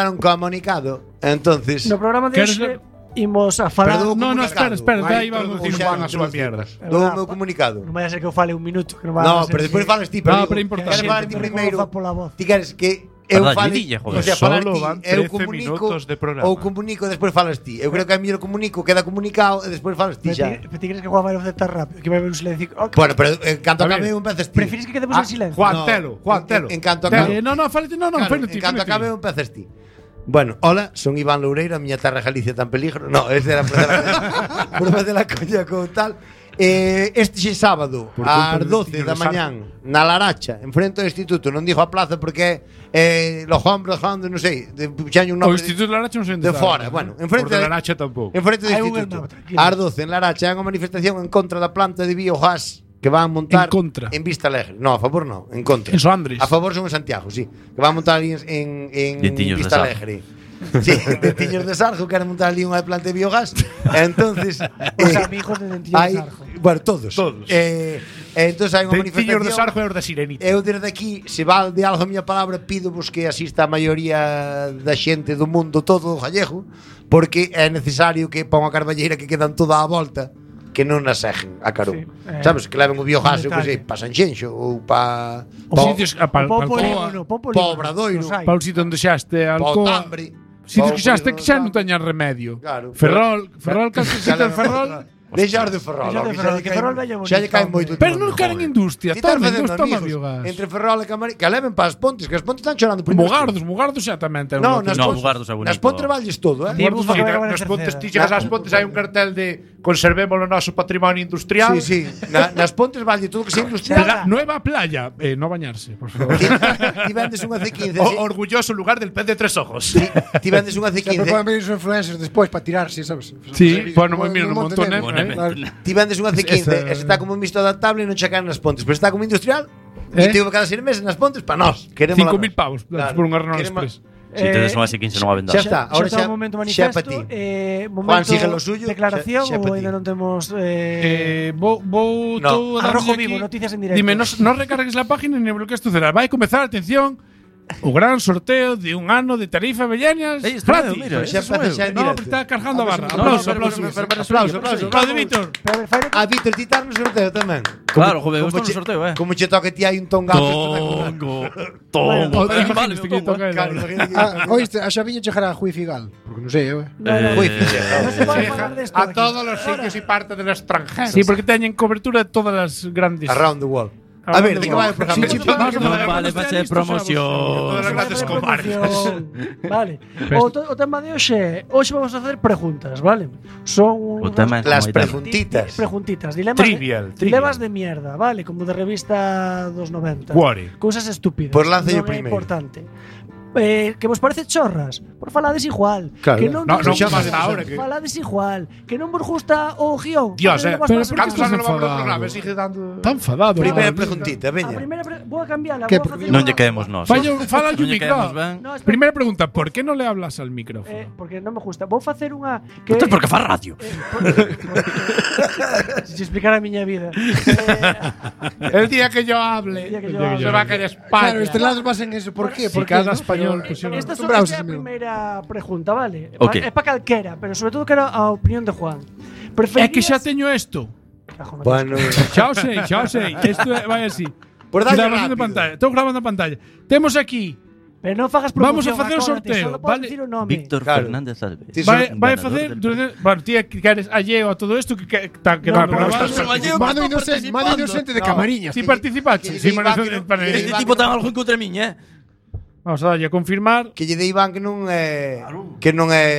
un comunicado. Entonces, no programa de hoxe imos a falar. No, espera, aí vamos a decir Juan as súas mierdas. do meu comunicado. Non vai a ser que eu fale un minuto, que non vai No, a ser pero despois que- falas ti, pero No, digo, pero é importante. queres falar ti Pero primeiro. como fa pola voz. Ti queres que eu Verdad, fale, Lidilla, joder. o sea, falar Solo ti, van eu 13 comunico minutos de programa. ou comunico e despois falas ti. Eu creo que a mellor comunico, queda comunicado e despois falas ti xa. Pero ti crees que Juan vai facer tan rápido que vai haber un silencio. Bueno, pero en canto A acabe ver, un empezas ti. Prefires que quedemos en silencio? Juan, telo. En canto acabe. Fálete, Claro, fálete. en canto acabe un empezas ti. Bueno, hola, son Iván Loureiro, a miña terra Galicia tan peligro. No, este era por facer la coña con tal. Este xe sábado ás 12 da mañán na Laracha, enfrente do instituto, non digo a plaza porque los hombres, non sei, puxaño un O nome Instituto de Laracha non sei de fora. Bueno, enfrente de Laracha tampouco. enfrente do Hai un instituto. hermano, tranquilo. Ás 12 en Laracha hai unha manifestación en contra da planta de biogás que van a montar En contra. en Vista Alegre. No, a favor no, en contra. En Soandres. A favor son en Santiago, sí. Que van a montar ali en Dientillos de Vista Sarjo. Alegre. Sí, Dientillos de Sarjo, queren montar ali unha planta de biogás. Entonces, Os amigos de Dentillo de hai, Sarjo. bueno, todos. Todos. Entonces hai unha Dentillos de manifestación. Sarjo e os da Sirenita. Eu desde aquí, se val de algo a miña palabra, pídovos que asista a maioría da xente do mundo todo gallego, porque é necesario que pa unha carballeira que quedan toda a volta que non a segen a Carón. Sí, Sabes, que leven o biogás, eu que detalle. sei, pa Sanxenxo ou pa Os sitios Pau Polígono, Pau Polígono. pa Obradoiro, Os hai. para o sitio onde xaste pa Alcoa. Tambre. Sitios que xaste que xa non teñan remedio. Claro. Ferrol, case sitio de Ferrol. Deixar de Ferrol, Deixar de que Ferrol, xa que lle Ferrol cae- vaya xa lle cae bonito, moito. Pero non queren industria, Ti estás tomen, facendo non toma amigos biogás. entre Ferrol e Camariñas, que leven para as Pontes, que as Pontes están chorando por Mugardos xa tamén ten No, un nas lote. No, Mugardos é bonito. Nas Pontes valles todo, Ti, Mugardos- bufa, que vai acabar en Nas Pontes, tercera. ti chegas ás Pontes, hai un cartel de conservemos o noso patrimonio industrial. Sí, sí. Nas Pontes valle todo que sea industrial. Nueva playa, no bañarse, por favor. Ti vendes unha C15. Orgulloso lugar del pez de tres ojos. Ti vendes unha Sempre C15. poden venir os influencers despois para tirarse, sabes? Sí, bueno, mira, No un montón, Montenegro. Ti vendes unha C15, Esa- e se está como un mixto adaptable e non checan nas Pontes, pero está como industrial. Eh? E tivo cada 6 meses nas Pontes para nós. Queremos 5.000 pavos por unha Renault Express. Si tedes unha S15 non a Xa vendar. está, ahora xa xa, un momento xa pa manifesto, ti. momento sigue lo suyo, declaración xa pa ou ti. ainda non temos Vou No. tú a Arrojo darlle vivo, aquí. noticias en directo. Dime, no recargues la página ni bloquees tu celular. Vai comezar, atención, o gran sorteo de un ano de tarifa Bellañas Está gratis. mira, Xa empeza xa en No, directo. está cargando a barra. no, Aplauso, no, aplauso. no, no, no, Aplauso. Aplaude, Víctor. Pero a ver, fai A Víctor, ti estás no sorteo tamén. Claro, joder, eu estou no che- sorteo, Como che toque ti hai un tongazo espectacular. Tongo. O- Pero vale, imagínate que como, toca el- Claro, imagínate que- Oíste, a Xaviña chegará a Juiz Figal. Porque non sei, eu. Uy, no se puede falar de esto A aquí. todos los sitios y parte del extranjero. Sí, porque teñen cobertura de todas las grandes. Around the world. A ver, de que vai o programa? Sí, sí, Vamos a No ver, vale, cuando vai estea ser listo, promoción. Todas las grandes comarcas. Vale. O tema de hoxe, hoxe vamos a facer preguntas, vale? Son O tema é Las como italiano. preguntitas. preguntitas, dilemas Trivial, de, dilemas de mierda, vale? Como de revista dos 90. Cuore. Cousas estúpidas. Pues lance yo non é primeiro. importante. Que vos parece chorras, por falades igual. Claro. Que non No, vos non gusta- pasa ahora que- falades igual. Que non vos gusta o guión. Dios, Falade vos pero para ¿por qué semana. estás no vamos a enfadado? programa? Sigue dando. Tan enfadado. Primeira Vale. preguntita, A veña. primeira vou a cambiarla, Que vou a facer Non unha- lle quedemos nós. Falla un Non lle micro. quedemos ben. No, espera. Primera pregunta, ¿por qué no le hablas al micrófono? Porque non me gusta. Vou facer unha que Isto é porque fa radio. Se te explicara a miña vida. El día que yo hable, El día que yo hable. se va a querer España. Claro, estrelados basen eso. Por qué? Si Porque cada español Esta pusiera- acostumbrados é a a ese mismo. primeira pregunta, vale? Ok. É para calquera, pero sobre todo quero a opinión de Juan. É que xa teño esto. Cajo, no Bueno, Xa o sei. Isto vai así. por darlle Grabación de rápido. pantalla. Estou grabando a pantalla. Temos aquí. Pero non fagas Vamos a promoción, facer o acórdate, sorteo, solo podes vale? dicir o nome. Víctor Claro. Fernández Alves. Sí, Vai Ganador facer del durante, bueno, ti que eres alleo a todo isto que está que No, va pero grabar. Mano inocente de Camariñas. Si participaste, si Este tipo ten algo en contra miña, Vamos a darlle a confirmar. Que lle de Iván que non é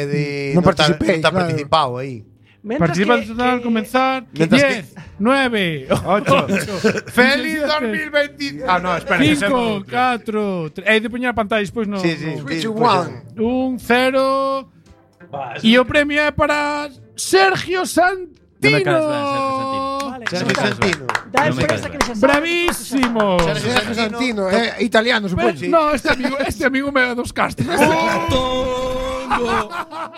de Non tá- participei, non está claro. participado aí. Mentras Participa que- al comenzar. Mientras 10, 9, 8. ¡Feliz 2020! Ah, no, espera. 5, 4, 3. Hai de poñer a pantalla despois no. Sí, sí. no. Switch sí, one. 1, 0. E o premio é para Sergio Santino. Non me caes ben, Sergio Santino. Vale, Sergio me caes Santino. da Non me experiencia caes que les sabe. Bravísimo. Sergio Santino, é italiano, Pero, supoño. no, este amigo me da dos castros.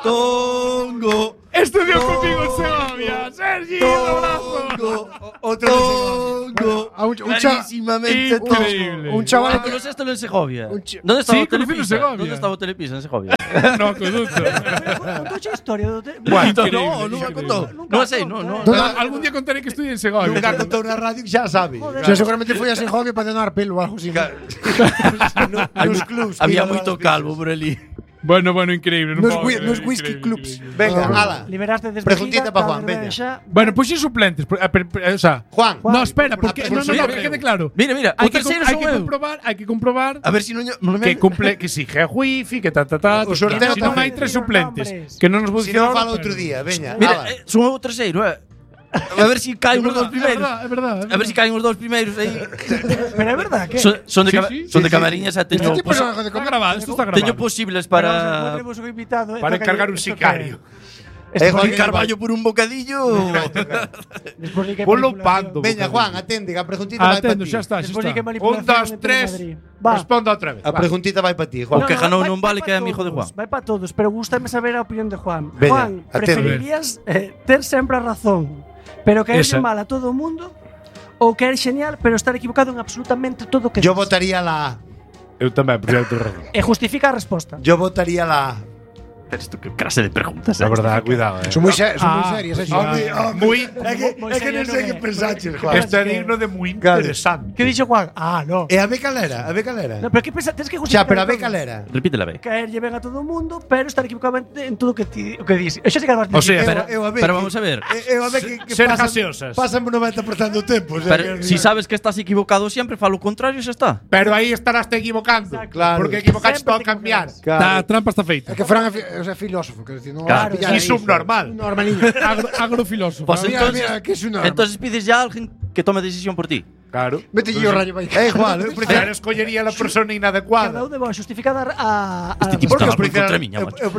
Tongo. É Estudió conmigo en Segovia. Sergi, un abrazo. Otro Clarísimamente Increíble. un chaval que ¿Conoces esto en Segovia? Un ch- ¿Dónde estaba Sí, conocí en Telepisa? Segovia. ¿Dónde estaba Telepisa en Segovia? No, acueducto. Contoche historia do te... Increíble, No, increíble. contó. No sei, no. Algún día contaré que estudié en Segovia. Nunca contou na radio que xa sabe. Joder. O sea, seguramente foi a Segovia para donar pelo ou algo así. Nos clubs. que Había iban a moito las calvo por ali. Bueno, increíble. Non Nos podo creer, nos whisky increíble, clubs. increíble. Venga, Ah, ala. Liberaste desde Preguntita pa Juan, veña. Bueno, pues sin suplentes. O sea, Juan. no, espera, porque Juan, no, que quede claro. Mira, Hay o que, terceiro hay son que eu. hay que comprobar A ver si non me que cumple, que si é wifi, que O sorteo Si non hai tamén. tres suplentes, Nombres. que non nos Si non funciona. fala outro día, veña. Mira, ala. son o terceiro, A ver si caen os dous primeiros. É verdad. A ver si caen os dous primeiros aí. Pero é verdad que Son de Sí, son de sí. camariñas a teño Este personaje de Está comer. grabado, esto está grabado. teño posibles Pero para tenemos un invitado, Para encargar un sicario. Juan, Carballo por un bocadillo. Ponlo pando. Veña, Juan, atende, que a preguntita vai para Atendo, ti. xa está, xa Despois di que está. manipulación 1, 2, entre 3. Madrid. Va. Responda outra vez. A preguntita vai para ti, Juan. O que Janou non vale, que é amigo de Juan. Vai para todos, pero gústame saber a opinión de Juan. Veña, Juan, atende. preferirías ter sempre a razón, pero caerse Esa. mal a todo o mundo? Ou caer genial, pero estar equivocado en absolutamente todo o que Yo dis? votaría la A. Eu tamén, por cierto, razón. E justifica a resposta. Yo votaría la A. Pero isto que clase de preguntas. La verdad, cuidado, Son moi serias, esas. Muy, É que non sei que pensaches, Juan. Esto é digno de muy Claro. interesante. Que dixo Juan? Ah, no. E a B calera, a B calera. No, pero que pensa, tens que Xa, justificar pero a B todo. calera. Repítela ben. Caerlle ben a todo o mundo, pero estar equivocado en todo o que dis. Eso sí que vas O sea, Eu a B pero que- vamos a ver. Eu a B que Ser pasan- gaseosas. Pasan o 90% do tempo. O sea, Pero que- si sabes que estás equivocado siempre, fa lo contrario, xa está. Pero aí estarás te equivocando. Claro. Porque equivocaste Sempre todo a te cambiar. Claro. A trampa está feita. É que Fran é filósofo, quero dicir, non Claro. pillar Y aí, subnormal. Un normaliño. Agrofilósofo. Pues Mira, entonces, mira, que es una arma. entonces pides ya a alguien que tome decisión por ti. Claro. Vete yo rayo para Juan, eu prefiero Claro, escollería la persona Cada inadecuada. un de vos justificada a Este tipo Porque está eu algo contra miña, macho. eu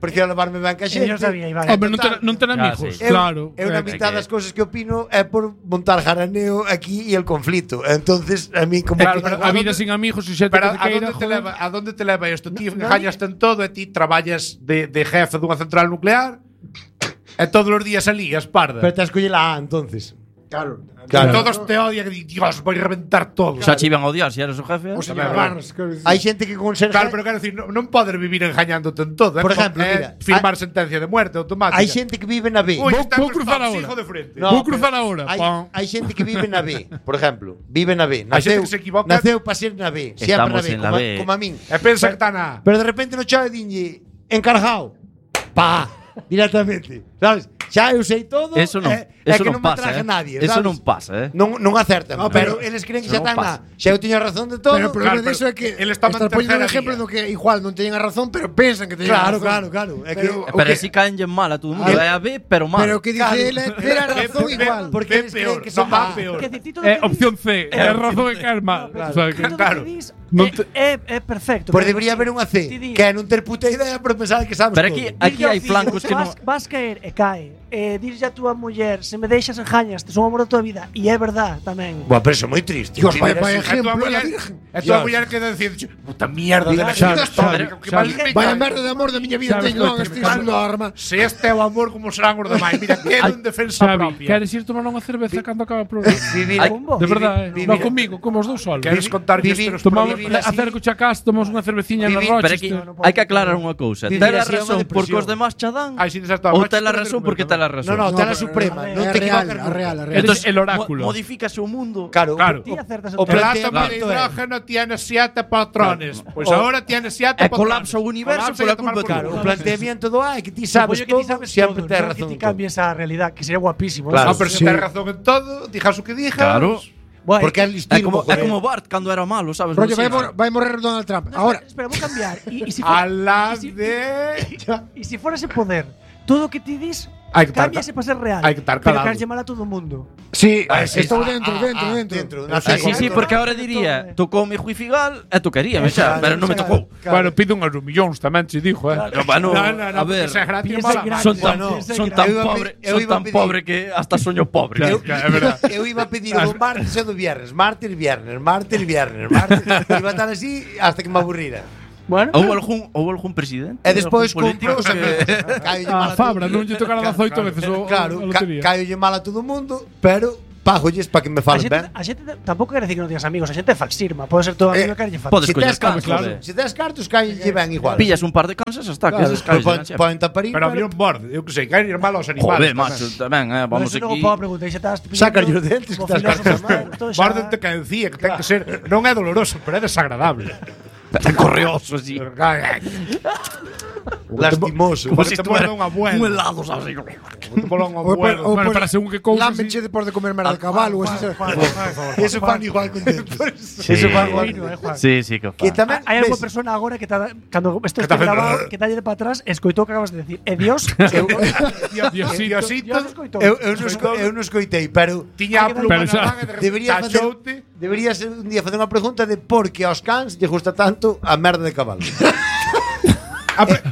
prefiro levarme ben ca xente. Eu sabía, Iván. Hombre, non ten amigos. sí. Claro. Eu na mitad das cousas que opino é por montar jaraneo aquí e el conflito. Entonces, a mí como Claro, que pero a vida sin amigos e xente Pero que te queira, a donde te leva isto? Ti gañas en todo e ti traballas de jefe dunha central nuclear e todos os días alías, parda. Pero te escolle la A, entonces. Claro. Que todos te odian e di, Dios, voy a reventar todo. Xa che iban a odiar se eres o jefe. O señor Tamén, Barnes, quero dicir. Hai xente que con ser Claro, pero quero decir, non podes vivir engañándote en todo. Por ejemplo, mira, firmar sentencia de muerte automática. hai xente que vive na B. Uy, Vou cruzar estamos ahora. hijo de frente. No, Vou pero cruzar ahora. Hai xente que vive na B, por exemplo, vive na B. Hai xente Naceu, que se equivoca. naceu para ser na B, sempre na Estamos B, en la como, B. como a min. E pensa que está na... Pero de repente no chave dinlle encargado. Pa, directamente. ¿Sabes? Xa eu sei todo. Eso non, é eso que non non me pasa, atraje nadie, Eso sabes? non pasa, Non acertan, No, pero pero- eles creen que eso xa non están pasa. Xa eu tiño razón de todo. Pero o problema Claro, diso é que él está estás en poniendo un tercera ejemplo vía. do que igual non teñen a razón, pero pensan que teñen Claro, a razón. claro. É que Pero- Pero que- así caen mal a todo o mundo. É a B, pero mal. Pero o que dice él é ter a razón igual. porque Ve eles creen peor, que son no, va A. peor. Que decir, todo o que Opción dis- C. É razón e caer mal. Claro, O sea, que todo o claro. que dis Non te- é perfecto. Pois Pero debería haber unha C, ti di- que é non ter puta idea, pero pensar que sabes Pero todo. aquí hai flancos que non. Vas caer e cae. Dirlle a túa muller, se me deixas enjañas, te son o amor da tua vida. E é verdad tamén. Buah, pero eso é moi triste. Dios, vaya Vivir así. ejemplo, A tua la muller- Virgen. a tua Dios. muller queda dicir, puta mierda de la Xavi, historia. Xavi, Que mal me Vaya cae. merda de amor da miña vida Sabes teño, non, que este me é unha arma. Se este é o amor, como serán os demais. Mira, queda en defensa Xavi, propia. queres ir tomar unha cerveza cando acaba o programa? Vivir Ai, Con vos. De verdade, Vivir- no comigo, como os dous solos. Queres contar vivir- os Tomamos, vivir así- acerco a casa, tomamos unha cerveciña na Vivir- Rochester. Pero aquí hai que aclarar unha cousa. Vivir Ten a así é unha razón porque depresión. os demás cha dan. Ai, si desas todas, Ou macho, ten a pero razón pero- porque ten a razón. No, ten a pero- suprema, é non te real, equivocas a real, a nunca. real. Entonces, el oráculo. Modifícase o mundo. Claro, Claro. Ti acertas O o El planteamiento átomo de é- hidrógeno tiene 7 patrones. Pues ahora tiene 7 E patrones. colapsa o universo Colapsa y pola a tomar culpa por Claro, culo. o planteamiento do A é que ti sabes Supoño que ti todo, sabes sempre todo, tes non razón. Que ti cambies a realidad, que sería guapísimo. Claro. No, pero si Sí. tienes razón en todo, dijas o que dijas. Claro. Bueno, Porque é É listino, como Bart cando era malo, sabes? Rollo, No vai morrer Donald Trump. Ahora, espera, vou cambiar. E si A for, la y si- de. e si fuera ese poder, todo o que ti dis Hai que estar cámbiase para ser real. hai que estar pero calado. caerlle mal a todo o mundo. sí, sí. estou dentro, dentro. Sí, porque ahora diría, tocoume Juifigal e tocaríame xa, pero non me tocou. Bueno, pide unhos millóns tamén, se dixo, eh. No, bueno, a ver, porque esa gracia piensa mala. grande. son tan, Bueno, son tan eu iba a pobre, pe- eu son iba a tan pedir- pobre que hasta soño pobre. Claro, é verdad. Eu iba a pedir o do martes e do viernes. Martes, viernes. Iba a estar así hasta que me aburrira. Bueno. Houve algún presidente? E despois político compro, A Fabra non lle tocará 18 veces o Claro, a lotería. caiolle mal a todo o mundo, pero págolles para que me falen ben. A xente tampouco quere decir que non tienes amigos, a xente é falsirma. Pode ser todo amigo que quere Podes Se coller tes cartos, cartos, se tes cartos, caiolle ben igual. Pillas un par de cansas hasta que eses caes. Poden taparín, Pero había un borde, eu que sei, caer mal aos animales. Joder, macho, tamén, vamos Eso aquí. logo podo preguntar, xa estás Sácalle os dentes, que estás Borde te caencía, que ten que ser, non é doloroso, pero é desagradable. Correoso, así. lastimoso. Como se estuera un helado, sabes? Bueno, para según que cousa. Lámenche depois de comer merda de cabalo. Eso fan igual con dentes. Eso fan igual. Sí, que Que fa. tamén Hai alguna ves, persona agora que cando isto está grabado, que talle de para atrás, escoitou o que acabas de decir. E Dios, Diosito. Dios escoitou. eu non escoitei, pero Tiña a pluma Pero na xa- manga e de debería repente facer tachoute. debería ser un día facer unha pregunta de por que aos cans lle gusta tanto a merda de cabalo.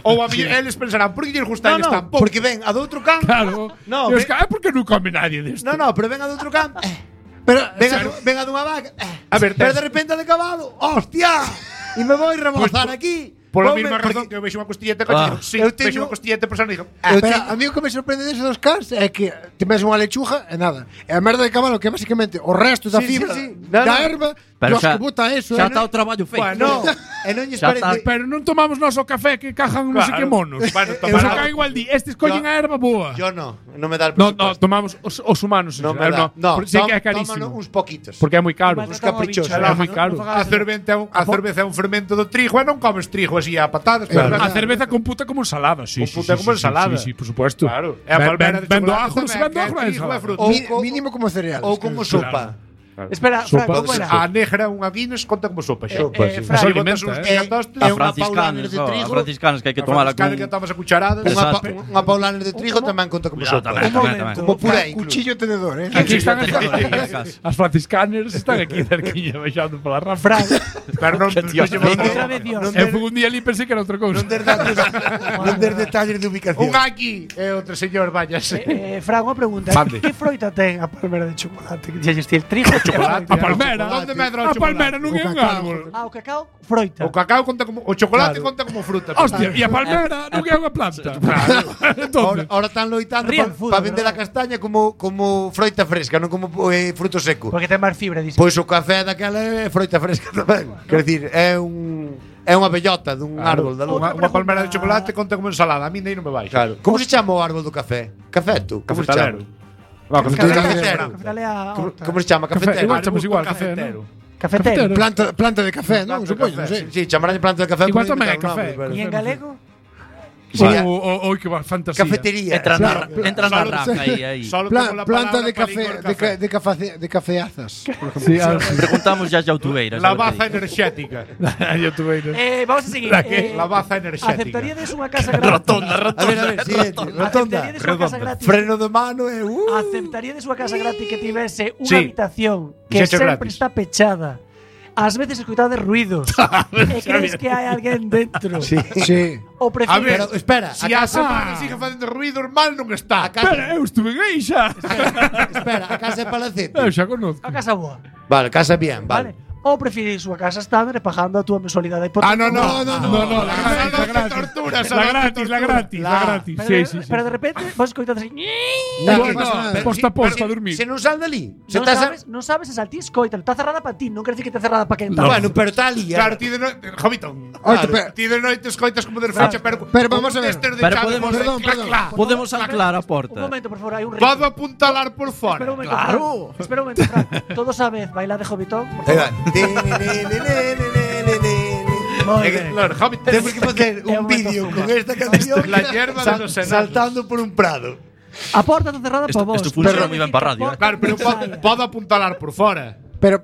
Ou a mí, eles pensarán, por que lles gusta a eles tan pouco? porque ven a do outro can. Claro. No, E os ve- ca- por que non come nadie desto? No, pero ven a do outro can. Pero ven a dunha vaca. A ver, pero tes- de repente a de cabalo. ¡Hostia! E me vou rebozar aquí. Pola Voume- mesma razón porque que eu vexo unha costilleta coche, digo, sí, eu vexo teño- unha costilleta persona e digo, eu Pero teño- a mí o que me sorprende desos dos cans é que te ves unha lechuga e nada. E a merda de cabalo que é basicamente o resto da Sí, fibra sí, sí. No, da no. erva, Pero Dios que bota eso. xa está o traballo feito. Bueno, e non lles Xa parece. pero non tomamos noso café que cajan non sei que monos. Bueno, Eso tomará- cae igual di, estes collen Yo- a erva boa. Yo no me da el No, presupuesto. tomamos os humanos. No en me xeral, da. No, porque sei que é carísimo. tómano uns poquitos. Porque é moi caro. Uns caprichosos. É moi caro. A cerveza é un fermento do trigo, e non comes trigo así a patadas. Claro. A cerveza computa como ensalada, sí. Computa como ensalada. Sí, por supuesto. Claro. E a palmera de vendo chocolate ajo, tamén, vendo que é ajo e trigo e ensalada. fruta. Mínimo como cereal. Ou como sopa. Espera, Fran, como era? A negra unha Guinness conta como sopa. Sopa, sí. Fran, Así alimenta, botas uns eh. pigatostes. A unha franciscanes, paulaner de trigo. a franciscanes que hai que tomala con... Que tomas a cucharadas. Exacto. Unha paulaner de trigo tamén conta como Cuidado, sopa. tamén. Como puré incluso. Cuchillo tenedor, Aquí están Aquí. as franciscanes están aquí cerquiña baixando pola rafa. Fran, Pero non outra vez Dios. Eu fui un día ali pensei que era outra cousa. Non des detalles de ubicación. Un aquí e outro señor, váyase. Fran, unha pregunta. Mande. Que froita ten a palmera de chocolate? Que dixes ti, el trigo ou chocolate? A palmera. Onde medra a palmera non é un árbol. Ah, o cacao, froita. O cacao conta como o chocolate conta como fruta. Hostia, e a palmera non é unha planta. Entonces, Ahora están loitando Real para food, vender a ¿verdad? castaña como froita fresca, non como fruto seco. Porque ten máis fibra, dices. Pois o café daquela é froita fresca tamén. Quer dicir, é unha bellota dun árbol da luz. unha palmera de chocolate conta como ensalada. A mí nem non me vai. Claro. Como se chama o árbol do café? Cafeto? Como se chama? Cafetero. Como se chama? Cafetero. Igual chamamos igual, café, non? Cafetero. Planta de café, non? Supoño, non sei. Sí, chamarán planta de café. Igual por tamén é inventar un café. nombre, pero- E en galego? Ou que va fantasía. Cafetería. Entra na raca aí. Solo Planta de café, de cafeazas. Sí, Preguntamos ya Outubeiras. la baza enerxética. Vamos a seguir. La baza enerxética. Aceptaríades unha casa gratis? A ver, siguiente. Rotonda. Aceptaríades unha casa gratis? Freno de mano e Aceptaríades unha casa gratis que tivese unha Sí. habitación que Xecho sempre gratis. está pechada? Ás veces escoitades ruidos e crees que hai alguén dentro. Sí. Sí. O A ver, prefires Pero espera, Si a a casa, semana sigue facendo ruido, mal non está. casa- eu estuve aí xa. espera, a casa é palacete. Eu xa conozco. a casa boa, Vale, casa bien, vale? vale. Ou prefires unha casa estándar e pagando a túa mensualidade hipoteca? No, la gratis. tortura, La gratis. Pero de repente vos escoitades así. Non pasa nada. Posta para dormir. Se non sal dali. Se Non sabes se saltí escoita, está cerrada para ti, non quer decir que está cerrada para quen está. Bueno, pero está ali. Claro, ti de noite, Jovitón. Oito, pero- Ti de noite escoitas como de fecha, pero vamos a ver. Pero podemos anclar a Un porta. momento, por favor, hai un ritmo. Podo apuntalar por Espera un fora. momento, Claro. Fran. Espera un momento, Fran. Todos a vez, baila de Jovitón. Por favor. Moi ben. Claro, Jovitón. Temos que facer É un un vídeo momento con esta canción La hierba de los enanos. saltando por un prado. A porta está cerrada para vos. Esto funciona Pero moi ben para radio, Claro, pero podo apuntalar por fora. Pero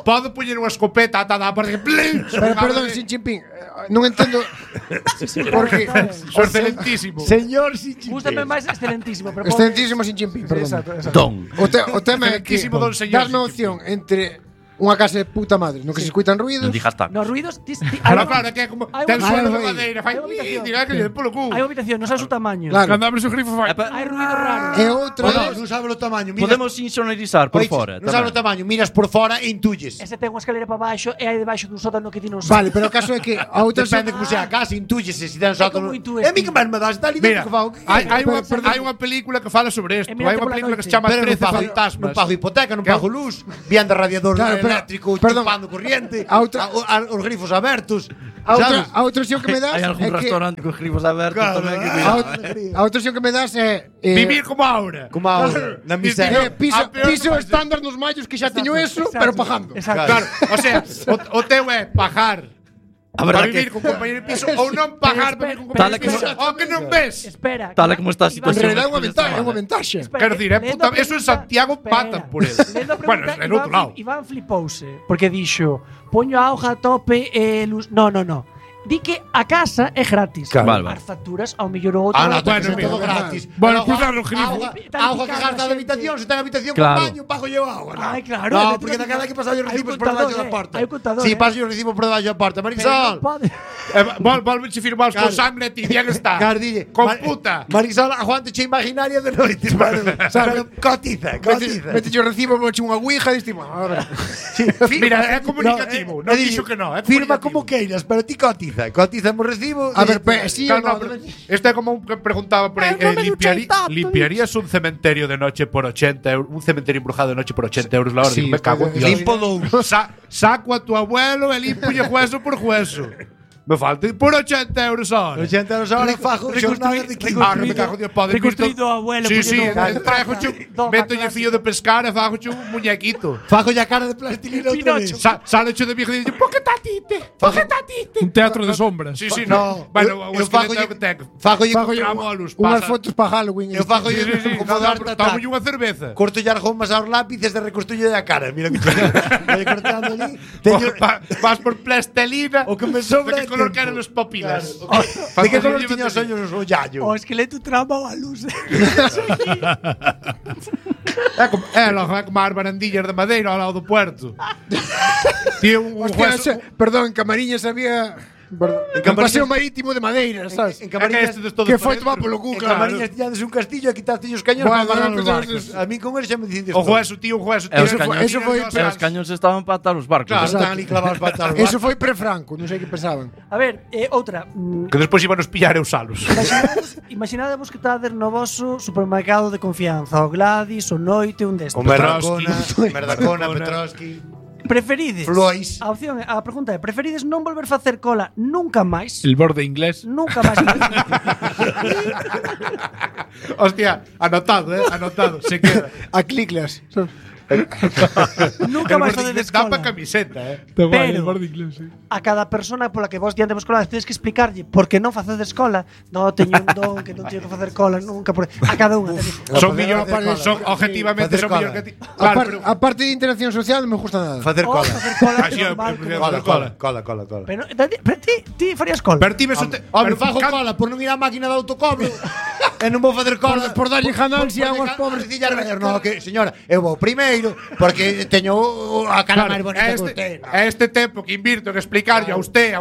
Podo poñer unha escopeta atada para que perdón, Xin Jinping, non entendo porque Sou excelentísimo. Señor Sinchi. Gústame máis excelentísimo, pero excelentísimo Xin Jinping, perdón. Exacto. Don. O tema é que Excelentísimo don señor darme Xin opción entre unha casa de puta madre, no que se escuitan ruidos. Non dijas tacos. Nos ruidos Claro, que é como ten suelo de madeira, fai diga que lle polo cu. Hai habitación, non sabes o tamaño. Claro. Cando abres o grifo fai. Hai ruidos raros. E outra Non sabe o tamaño. Podemos insonorizar por fora. Non sabe o tamaño, miras por fora e intuyes. Ese ten unha escalera para baixo e hai debaixo dun sótano que ti non Vale, sabes. pero o caso é que a outra Depende como sea a casa, intuyes se ten sótano. como intúes É mi que máis me das, está ali dentro Mira, que fago. hai unha película que fala sobre isto. E mírate Hai unha pola película que se noite. chama Pero 13 fantasmas. non pago hipoteca, non Que- pago luz, viando radiador Claro, pero- eléctrico, perdón. chupando corriente, A outra- os grifos abertos. a sabes? outra opción que me das Hai algún é que restaurante con grifos abertos Claro, tamén que a outra opción que me das é Vivir como ahora. Como ahora, na miseria. piso, A peor piso que vai ser. estándar nos mallos que xa teño eso, pero pagando. Exacto. Claro, o sea, o teu é pagar A para verdade vivir que con compañero de piso ou non pagar para vivir con Tal compañero de e piso. como- O que non ves. Espera. Tal e como está a En situación. realidad é unha despois ventaja, desta é unha ventaxa. Quero dicir, puta, eso en Santiago patan por él. Bueno, en outro lado. Iván flipouse porque dixo, poño a auga a tope e luz. No. Di que a casa é gratis. Claro. Vale, vale. As facturas ao mellor ou outro. Ah, no, Bueno, bueno, mira, todo verdad. gratis. Bueno, Pero cruzar o grifo. Agua que gasta da habitación, se ten habitación con Claro. baño, pago yo agua. No. Ai, claro, No, efectivamente. porque daquela que pasar os Hai un recibos por debaixo contador, da porta. hai un contador, Sí, paso os recibos por debaixo da porta. Marisol. Volve firmaos con Claro. sangre a ti, bien está. Gardille. Con puta. Marisol, aguante che imaginaria de noite. Pero cotiza. Mete yo recibo, moche unha ouija e diste, a ver. Mira, é comunicativo. Non dixo que non, é Firma comunicativo. como queiras, pero ti cotiza. Cotizamos recibo. A ver, sí ou Claro, non? no, pero esto é como un que preguntaba por aí, limpiarías un cementerio de noche por 80 euros, un cementerio embrujado de noche por 80 euros la hora? Sí, Digo, me cago en Dios. Limpo dous. Saco a tu abuelo e limpolle hueso por hueso. Me falta por 80 euros a hora. 80 euros a hora fajo xornadas de 15. Ah, que me cago en Dios, pode reconstruído ao abuelo, Sí, porque sí, non- trajo Doma métolle clásica. fío de pescar e fago un muñequito. Fajo ya cara de plastilina outra vez. Sale de viejo e dice, "Por que tatite? Por que tatite?" Un teatro de sombras. Sí, sí, No, no. Bueno, eu o fago esqueleto que ten. Fajo Fago yo Tramo a luz, unhas pasa. fotos para Halloween. Eu fajo Sí, sí, sí, como no, dar no, tata. tomo unha cerveza. Corto ya argomas aos lápices e reconstruyo a cara. Mira que voy cortando ali. Teño Vas por plastelina. o que me sobra. ¿De qué é color tempo. quedan los papilas? De que color tiña os ollos o yallo? O esqueleto trama a luz. É como as barandillas de madeira ao lado do puerto. Tiene un Hostia, hueso. perdón, en Camariñas había un paseo marítimo de madeira, sabes? En É que Camariñas, este de todo Que foi por tomar eso. polo cu, en claro. Camariñas tiñades un castillo e quitaste os cañóns Bueno, para matar os pero barcos. eso- A mí con eles xa me dicen O hueso, tío, un hueso. E os cañóns, eso foi- e os cañóns estaban para atar os barcos. Claro. Están ali clavados para atar os Eso barcos. foi pre-Franco, non sei que pensaban. A ver, outra. Que despois iban os pillar e usalos. Imaginadevos que estades no vosso supermercado de confianza, o Gladys, o Noite, un destes. Con Merdacona, Petrovski. Merdacona, Petrovski. Preferides? Flois. A opción, a pregunta é, preferides non volver facer cola nunca máis? El borde inglés. Nunca máis. Hostia, anotado, anotado. Se queda. A cliclas. Nunca máis facedes Dá para cola. camiseta, Está guai, Pero- el borde inglés, sí. A cada persona pola que vos diantemos cola tedes que explicarlle por que non facedes cola. No, teño un don que non teño que facer cola nunca. A cada unha. Son Facer millón, cola. son objetivamente Facer son cola. millón que ti. Claro, pero A parte de interacción social non me gusta nada. Facer O cola. facer cola Así que é, normal, pero- como- Cola. Pero ti farías cola. pero ti ves o te- Hombre, pero fago can- cola por non ir á máquina de autocobro. E non vou facer cola Por darlle ganancia aos pobres. No, que señora, eu vou primeiro porque teño a cara máis bonita que usted. este tempo que invirto en explicarlle a usted,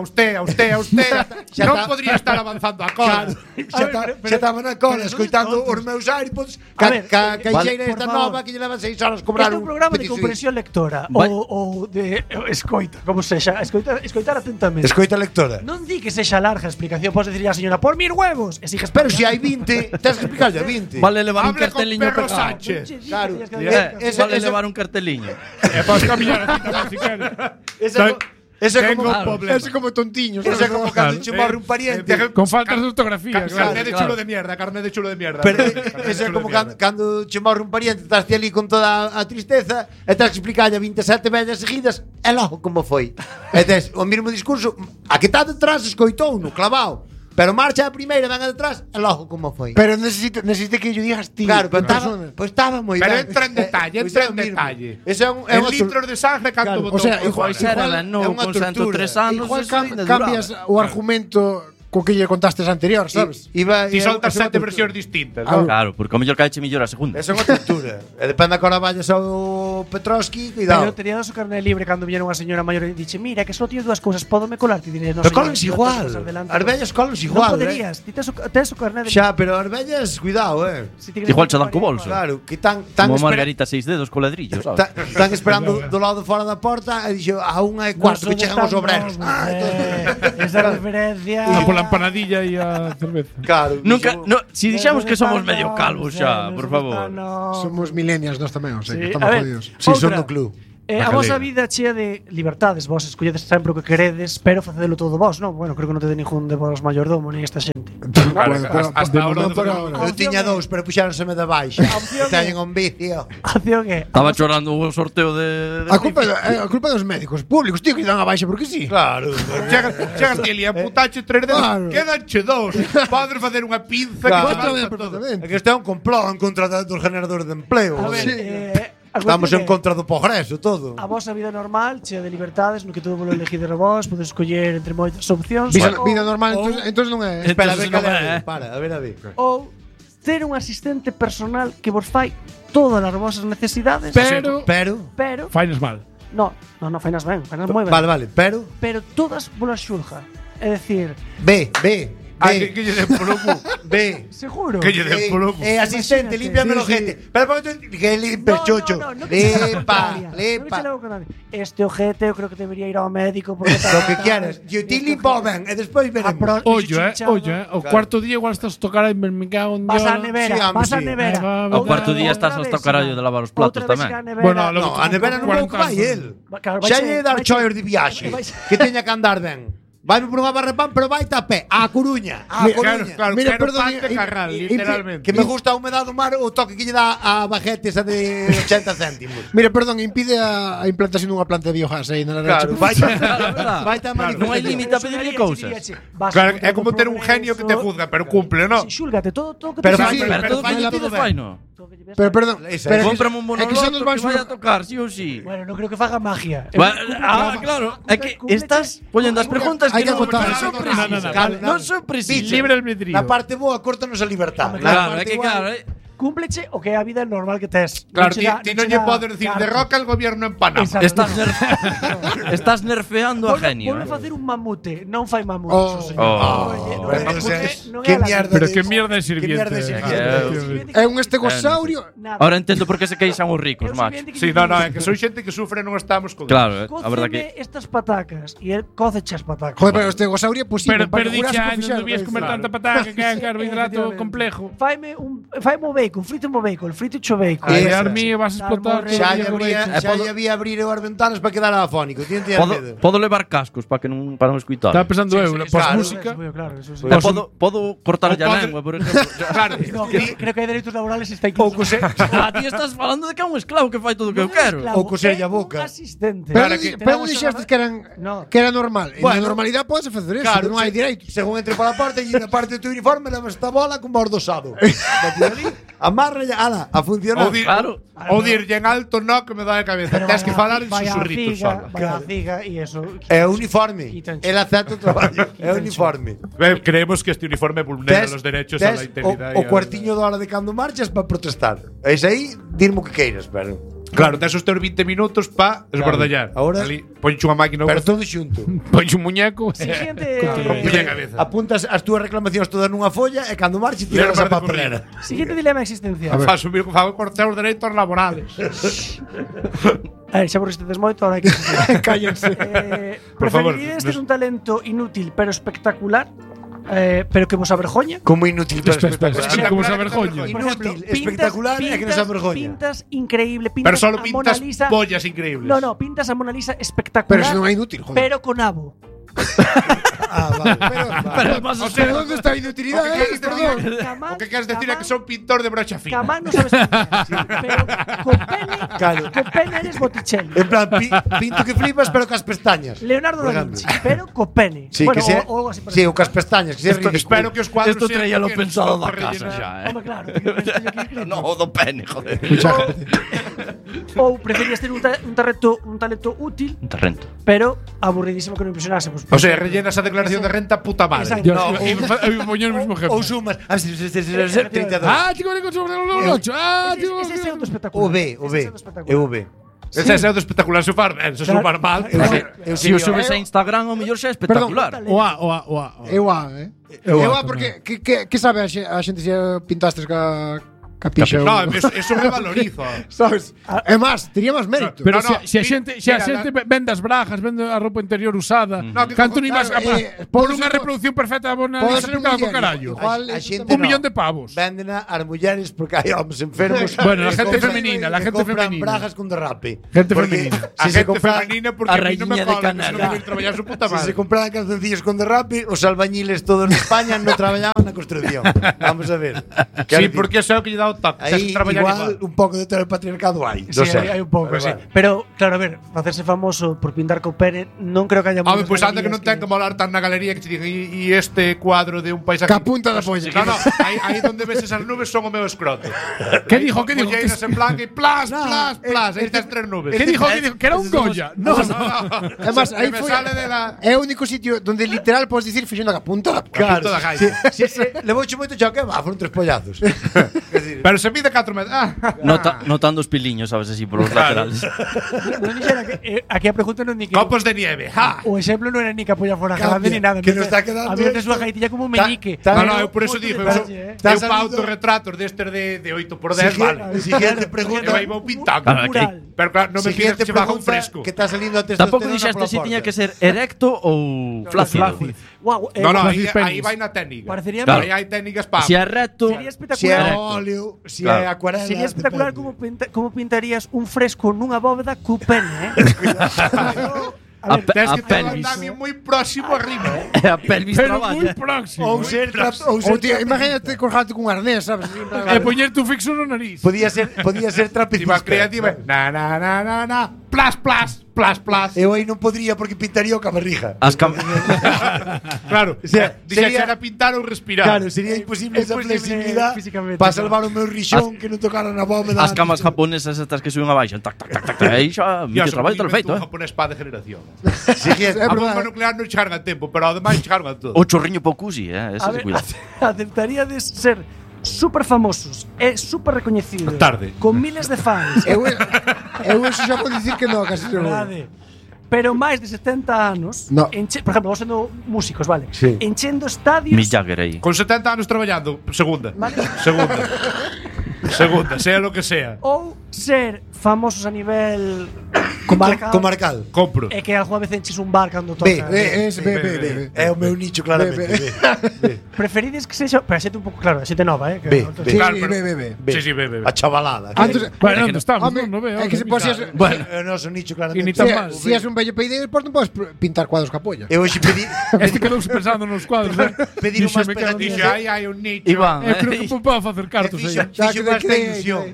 Xa non está. podría estar avanzando a cola. Xa estaba na cola escoitando os meus iPods A ver, caixeira por esta favor. nova que lle leva 6 horas cobrar Este é un programa de petit comprensión lectora Vai- ou de escoita, como sexa, escoitar atentamente. Escoita lectora. Non di que sexa larga a explicación, podes decirle á señora, por mis huevos, e sigues Pero se hai 20, tens que explicarlle a 20. Vale levar un Hable con carteliño Pedro pegado. Sánchez. Claro. Vale levar un carteliño. E vas camiñar a ti tamén, si queres. Ese é Tengo como un problema. Ese como tontiños. Ese é como cando che morre un pariente. Con faltas de ortografía. claro. Carné de chulo de mierda, carné de chulo de mierda. Pero Carné de ese é chulo como de mierda. cando che morre un pariente, estás ti ali con toda a tristeza e tens que explicarlle a 27 vellas seguidas e logo como foi. E tes o mesmo discurso, a que está detrás escoitou no clavao, pero marcha a primeira, ven a detrás e logo como foi. Pero necesito que yo digas ti. Claro, pero en persona. estaba moi Pero ben. entra en detalle, Pois entra é en o mismo. detalle. Ese é un En litros de sangre canto Claro, botou. o sea, Igual igual- era ben, é non, unha con tortura. 103 anos. Igual eso ainda cambias duraba. o argumento co que lle contastes anterior, sabes? Ti soltas 7 versións distintas, non? Claro, porque o mellor caeche mellor a segunda. Esa é unha cultura. E depende da cora vayas ao Petrovski, cuidado. Pero tería o carné libre cando viñera unha señora maior e dixe, mira, que só tío dúas cousas, pódome colar? Ti dirías, no, Pero señor, colas yo igual. tengo cosas delante. As vellas colas igual, Non poderías, ti tes o carné de... Xa, pero as vellas, cuidado, Si ti queres Igual che dan co igual. bolso. Claro, que tan Como Margarita 6 dedos co ladrillo, sabes? Están esperando do lado fora da porta e dixo a 1:15 que chegan os obreros. Esa referencia. Pola empanadilla e a cerveza. Claro. Nunca, no, si dixamos que somos medio calvos xa, por favor. Somos millennials nós tamén, o sea, que Sí, estamos a ver, jodidos. Si son outra. do club. A vosa vida chea de libertades, vos escolledes sempre o que queredes, pero facedelo todo vos, non? Bueno, creo que non te de ningún de vos mayordomo nin esta xente. Claro, hasta ahora non por ahora. Eu tiña dous, pero puxáronseme de baixa. opción Teñen un vicio. A opción é Estaba chorando o sorteo de A culpa dos médicos públicos, tío, que lle dan a baixa porque sí. Claro. Chegas ti ali a putache 3 dedos, Claro. quedanche 2. Podes facer unha pinza Claro. que te Outra vez basta todo. É perfectamente. que este é un complot en contra dos generadores de empleo. A ver, joder. a Estamos cuestión en contra do progreso, todo. A vosa vida normal, chea de libertades, no que todo volo elegides vos, podes escoller entre moitas opcións. Vida normal, entonces non é. Espera, a ver, Entonces non cale, é. para, a ver. Ou ter un asistente personal que vos fai todas as vosas necesidades, Pero Pero fainas mal. no, fainas ben, fainas moi ben. Vale, pero Pero todas volas xulga. É dicir, ve. Que lle den polo cu. Ve. seguro. Que lle den polo cu. Asistente, límpiame el ojete. Pero que limpie chocho. Lepa. Este ojete eu creo que debería ir ao médico porque Lo que quieras. Yo te limpo ben e despois veremos. Ollo, o cuarto día igual estás a tocar aí, me cago en Vas Dios. á nevera, Sí, home, vas á sí. nevera. Ao cuarto día estás hasta o carallo de lavar os platos tamén. Bueno, No, a nevera non vou que vai el. Xa lle dar choios de viaxe. Que teña que andar ben. Vai por unha barra de pan, pero vai a pé. A Coruña. A Coruña. Claro, Mira, quero perdón, pan de Carral, literalmente. Que me gusta a humedad do mar, o toque que lle dá a baguete esa de 80 céntimos. Mira, perdón, impide a implantación dunha planta de biogás aí na Claro, vai a Non hai límite a pedirlle cousas. Claro, é como ter un genio que te juzga, pero cumple, ¿no? Xúlgate todo que Pero te fai- salga. Pero todo fai que todo pides ben. fai, no. Pero perdón, Esa, pero Cómprame un é que xa nos monoloto van que vai a tocar, sí ou sí. Bueno, non creo que faga magia. Claro, é que estás poñendo as preguntas hai que que non acotar. son precisas. Calma, Non son precisas. Libre albedrío. Na parte boa, córtanos a libertad. Claro, é que claro, Cúmpleche o que é a vida normal que tes. Claro, Non che dá- ti non non che lle dá podes dicir carta. derroca el gobierno en Panamá. Exacto. estás nerfeando a genio. Volve facer un mamute, non fai mamute, Oh. señor. Oh. Oye, Pero non é- entonces, non é ¿qué a la- mierda Pero de- que mierda de ¿Qué mierda de sirviente. sirviente? é un estegosaurio. Nada. Ahora entendo por que se queixan os ricos, Eu macho. sirviente que Sí, lle no, digo, é que soy xente que sufre e non estamos con Claro, a verdad cóceme que estas patacas e el cóceche as patacas. Joder, pero o estegosaurio é posible. Pero dixe Jurásico años fixado, non vías comer claro. tanta pataca que é un carbohidrato Efectivamente. complejo. Faime o bacon, frito o bacon, frito o bacon. Ai, Esa. Armi, vas a explotar. Salmorre. Xa todo lle o abría, bacon. xa lle había abrir as ventanas para quedar afónico. Ti non tiñas medo. podo levar cascos para que non para non escutar. Estaba pensando eu, sí, pos claro. música. Claro, eso sí. Podo cortar a lengua, por exemplo. Claro, No, creo que hai dereitos laborales está Ou incluso. cose, Ti estás falando de que é un esclavo que fai todo o que eu quero. Ou coserlle a boca. Un asistente. Pero que- pero non dixestes que eran No. que era normal. En Bueno. la normalidade podes facer eso, claro, non hai direitos. Según entre pola porta e na parte do teu uniforme levas esta bola con bordosado. Metido ali, amarra e ala, a funcionar. Claro. O dirlle en alto no que me dá a cabeza. Tens que falar en Vaya susurritos ciga, só. vaya ciga e eso. É o uniforme. Quitanche. El acepta o traballo. É o uniforme. Creemos que este uniforme vulnera los derechos a la integridad. O cuartiño de hora de cando marchas para protestar. Es aí, dirme o que queiras, pero. Claro, tes os teus 20 minutos pa esbordallar. Ahora- Ali, ponche unha máquina. Pero todo xunto. Ponche un muñeco. Siguiente, Ponche a cabeza. Apuntas as túas reclamacións todas nunha folla e cando marches tiras a Leva de papelera. siguiente dilema existencial. Fa subir con fago cortar os dereitos laborales. Xa vos resistedes moito, ahora hai que Cállense. Por favor, Preferiríades ter un talento inútil pero espectacular, pero que vos avergoña? Como inútil pero Espera, espectacular. como se avergoña. Por ejemplo, Inútil, espectacular e que nos avergoña. Pintas increíble, Pero pintas solo a pintas Mona Lisa. pollas increíbles. No, pintas a Mona Lisa espectacular. Pero eso non é inútil, joder. Pero con abo. Ah, vale. Pero más O sea, Pero onde está a inutilidade? Perdón. O que queres decir é que son pintor de brocha fina. Camán non sabes pintar, sí, pero con pene, Claro. con pene eres Botticelli. En plan, pinto que flipas pero cas pestañas. Leonardo Por da ejemplo. Vinci, pero con pene. Sí, bueno, que sea, o algo así sí, o cas pestañas, que sea ridículo. Espero que os cuadros Esto sean traía lo pequenos, pensado para da casa rellenar. xa, Home, claro, teño aquí escrito. No, do pene, joder. Ou preferías ter un talento útil, Un terrento. pero aburridísimo que non impresionase. Pues, O sea, rellenas a declaración declaración de renta puta madre. Exacto. Eu iba poñer o mesmo ejemplo. Ou sumas 32. Chico, vale con sobre o 8. Ese é o do espectacular. O B. É o B. Ese é o do espectacular sumar, se sumar mal. Se o subes a Instagram, o mellor xa é espectacular. O A. Eu a, porque que sabe a xente se pintastes ca pixa? No, eso me valorizo. Sabes? É máis, tería máis mérito. Pero se a xente vende as bragas, vende a roupa interior usada, canto ni máis por unha reproducción perfecta na Instagram co carallo. A xente 1 millón de pavos. Véndena ás mulleres porque hai homes enfermos. Bueno, la gente femenina, la gente compran femenina. bragas con derrape. Gente Porque femenina. A se gente compra- femenina porque a mí non me raíña de cola, Canadá. non me traballar su puta Si madre. se compraran calzoncillos con derrape, os albañiles todos en España non traballaban na construcción. Vamos a ver. Sí, porque eso é o que lle dá o toque. Aí igual un pouco de patriarcado hai. Sí, hai un pouco, sí. Pero, claro, a ver, facerse famoso por pintar co pene, non creo que haya Home, pois anda que non ten que molar tan na galería que te digan e este cuadro de un paisaje. Ca punta da polla. No, aí donde ves esas nubes son o meu escroto. ¿Qué dijo? Molleiras en blanco e plas, aí tes 3 nubes. ¿Qué dijo? Que era un Goya. No. Además, aí me foi sale de la é o único sitio donde literal podes dicir fixendo a punta da punta da gaita. Levouche moito choque, foron 3 pollazos. Pero se mide 4 metros. Notando os piliños, sabes, así por os laterales. Non dixera que aquí a pregunta non ni que Copos de nieve. Ja. o exemplo non era ni que a polla fora grande ni nada. que nos está quedando a ver de esto. súa gaitilla como un meñique. No, eu por eso dixo, eu Está pa salindo- autorretratos destes de 8x10, vale. Siguiente pregunta. Eu aí vou pintando. Mural. Pero claro, non me pides que se baja un fresco. Que está salindo a testosterona. Tampouco dixeste se tiña que ser erecto ou flácido. Guau, No, Flácidos aí penis. vai na técnica. Parecería Claro. Aí hai técnicas para. Se é recto, sería Si é espectacular. óleo, si Claro. é acuarela. Sería espectacular depende. como pintarías un fresco nunha bóveda cu pene, a Tens que ter un pelvis. andamio moi próximo arriba. A pelvis Pero moi traballa. próximo. Ou ser Ou tío, imagínate colgarte cun arnés, sabes? Así, en plan, E poñerte un fixo no nariz. Podía ser Ti trapecista. vas creativa. Na. Plas. Eu aí non podría porque pintaría o cabarrija. As Claro. sea, Dixe sería- era pintar ou respirar. Claro, sería imposible esa imposible flexibilidad físicamente, para claro. salvar o meu rixón que non tocara na bóveda. As camas japonesas estas que suben abaixo, tac. Aí xa, Dios, o traballo está feito, un japonés pa de generación. Siguiente. A bomba nuclear non chegaron a tempo, pero ademais chegaron a todo. O chorriño poucusi, ese A de ver, cuidado. aceptaríades ser super famosos e super recoñecidos Tarde. con miles de fans eu eso xa podo dicir que non, casi seguro. verdade, pero máis de 70 anos No. por exemplo, vos sendo músicos, vale, Sí. enchendo estadios Mick Jagger aí. Con 70 anos traballando, segunda. Vale. Segunda, sea lo que sea. ou ser famosos a nivel comarcal, Comarcal. Compro. e que algunha vez enches un bar cando toca. Ve. É o meu nicho claramente. Preferides que sexa, pero a xente un pouco claro, a xente nova, que Ve, entonces- ve. Sí, Claro, pero- ve. Sí, ve. A chavalada. Antes, Bueno, onde estamos? home, Non veo. é que se posías Bueno, É o noso nicho E claramente. ni tan mal. si és un bello peide, depois non podes pintar cuadros ca polla. Eu hoxe pedí Este quedouse pensando nos cuadros, pedir Dixo, unhas me cago en Dixe, pegatinas. hai un nicho. Iván, Eu creo que podo facer cartos aí. Fixo máis da ilusión.